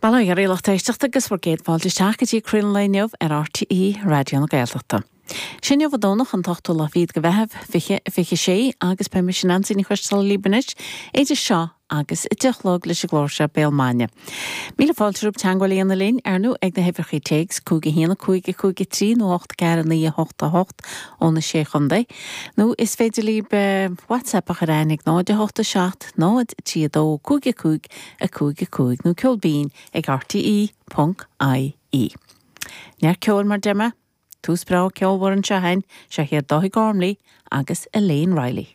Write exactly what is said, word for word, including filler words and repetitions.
Bail ó Dhia oraibh a lucht éisteachta agus bhur gcéad fáilte isteach go dtí Craoladh an Lae inniu ar RTÉ Raidió na Gaeltachta. Sin inniu an Domhnach an t-ochtú lá fichead de Mheitheamh fiche fiche sé agus beidh mise Neansaí Ní Choisdealbha libh anois idir seo agus a deich a chlog leis an gclár seo Béal Maidine. Míle fáilte romhaibh teagmháil a dhéanamh linn ar nó ag na huimhreacha téacs cúig a haon a cúig a cúig a trí nó ocht ceathair a naoi a hocht a hocht ó na sé chontae, nó is féidir libh WhatsApp a chur chugainn ag náid a hocht a seacht náid trí a dó cúig a cúig a cúig a cúig nó ceol binn ag RTÉ ponc IE. Neart ceoil mar a deir mé, tús breá ceolmhar anseo féin, seo iad Dáithí Gormley agus Elaine Riley.